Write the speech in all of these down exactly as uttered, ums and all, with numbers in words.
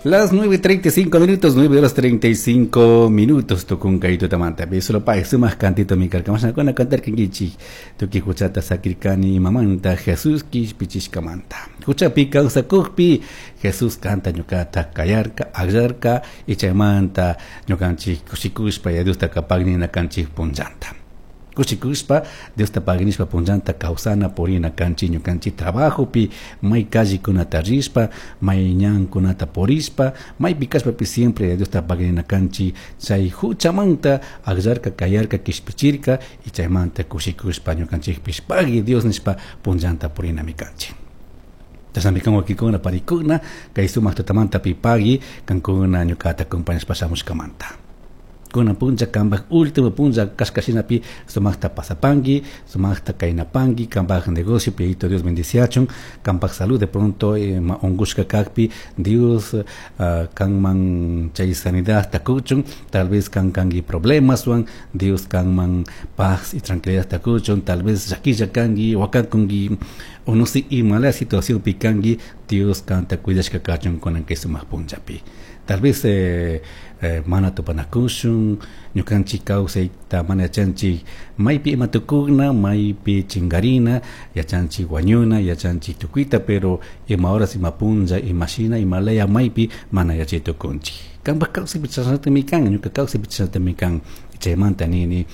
Las nueve treinta y cinco minutos, nueve horas treinta y cinco minutos, tucunca y tutamanta. Solo pa sumaq cantito mi karka. Mashnakuna cantarkankichik. Tuki huchata sakirkani mamanta Jesús kishpichishkamanta. Huchapi kawsakukpi Jesús kanta ñukata kayarka, akllarka y chaymanta ñukanchik kushikushpa ya Diosta pagui kanchik punllanta. Kushikushpa Diosta paginishpa punllanta kawsana purina kanchik ñukanchik trabajopi, may callekunata rishpa, may ñankunata purishpa, maypi kashpapi siempre Diosta paginina kanchik. Chay huchamanta akllarka, kayarka, kishpichirka y chaymanta kushikushpa ñukanchikpish pagui Dios nishpa punllanta purinami kanchik. Chashnami kan, wawkikuna panikuna, kay sumaq tutamanta pipagui kankuna ñukata acompañashpa shamushkamanta. Kunan punlla kanpak último punlla kashkashinapi sumaqta pasapanki, sumaqta kaynapanki, kanpak negocio Yayito Dios bendiciachun, kanpak salud de pronto eh, unkushka kakpi Dios uh, kanman chay sanidad kuchun, tal vez kan kanki problemaswan, Dios kanman paz y tranquilidad kuchun, tal vez llakilla kanki, wakakunki o no sé imala situación pi kanki, Dios kanta cuidashka kachun kunan kay sumaq punllapi. Tal vez eh, eh, mana tupanakushun, ñukanchik kawsayta mana yachanchik maypi ima tukuna, maypi chinkarina, yachanchik wañuna, yachanchik tukuyta, pero ima horas, ima punlla, imashina, imalaya, maypi mana yachay tukunchik. Kanpak kawsaypi chashnatami kan, ñuka kawsaypi chashnatami kan. Chaymanta nini,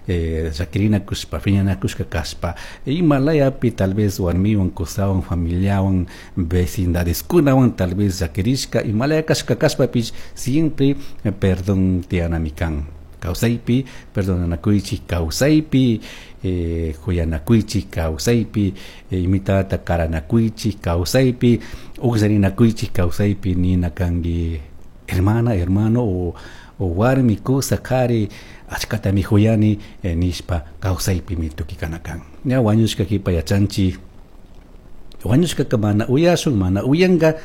eh, llakirinakushpa, piñanakushka kashpa, imalayapi tal vez warmiwan, kusawan, familiawan, vecindadeskunawan tal vez llakirishka, imalaya kashka kashpapish siempre eh, perdón tiyanami kan. Kawsaypi perdonanakuychik, kawsaypi eh, huyanakuychik, kawsaypi eh, imitata karanakuychik, kawsaypi ukllarinakuychik, kawsaypi nina kanki hermana, hermano o, o warmi, kusa, kari, achkatami huyani eh, nishpa kawsaypimi tukikana kan. Ña wañushka kipa yachanchik, wañushkaka mana uyashun, mana uyanka,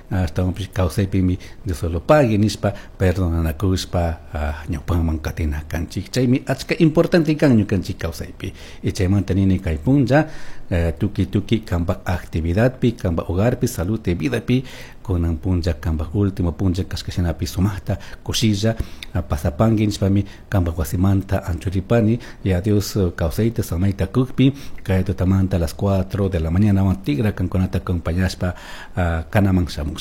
ashtawanpish kawsaypimi Dios solo pagui nishpa perdonanakushpa uh, ñawpaman katina kanchik. Chaymi achka importante kan ñukanchik kawsaypi. Y chaymanta nini, kay punlla uh, tuki tuki kanpak actividadpi, kanpak hogarpi, salud y vidapi, kunan punlla kanpak último punlla kashkashinapi sumaqta kushilla uh, pasapanki nishpami kanpak wasimanta anchuripani. Y a Dios uh, kawsayta samayta kukpi kay tutamanta a las cuatro de la mañana tigra kankunata acompañashpa uh, kanaman shamusha.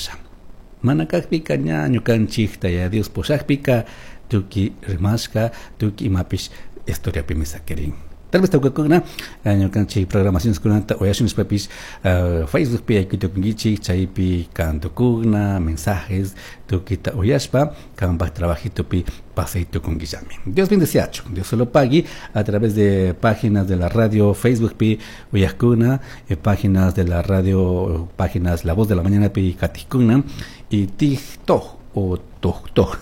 Mana kakpika ña ñukanchikta ya Dios pushakpika tuki rimashka, tuki imapish historiapimi sakirin. Tal vez tawkakuna ñukanchik programaciones kunata uyashun nishpapish uh, Facebookpi yaykuytukunkichik, chaypi kantukuna mensajes tukita uyashpa kanpak trabajitopi pasaytukunkillami. Dios bendeciachun, Dios solo pagui a través de páginas de la radio Facebookpi uyajkuna, eh, páginas de la radio, páginas La Voz de la Mañana pi katijkuna y TikTok o TokTok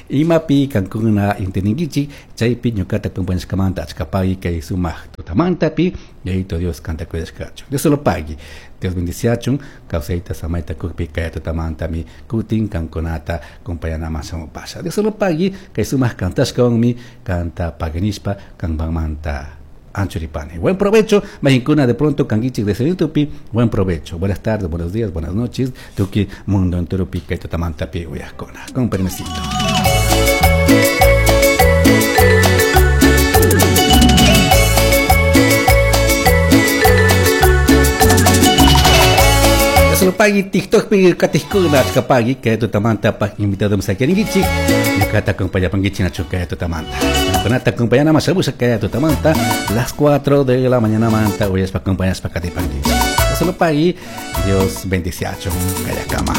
imapi kankuna intendinkichik, chaypi ñukata acompañashkamanta achka pagui. Kay sumaq tutamantapi Yayito Dios kanta cuidashkachun. Dios solo pagui, Dios bendiciachun. Kawsayta samayta kukpi kay tutamantami kutin kankunata acompañanaman shamupasha. Dios solo pagui. Kay sumaq kantashkawanmi kanta paguinishpa kanpamanta anchuripani. Buen provecho, Mexincuna de pronto kankichik de tupi. Buen provecho. Buenas tardes, buenos días, buenas noches. Tuki mundo entero pi kay tutamantapi uyajkuna. Con permisito. Solo pagui TikTok pi katijkuna achka pagui kay tutamanta pa invitado misakirinkichik. Ñukata acompañapankichik nachu kay tutamanta. Kunata acompañana más kay tutamanta las cuatro de la mañana manta uyashpa acompañashpa katipankichik. Solo pagui, Dios bendiciachun kayakama.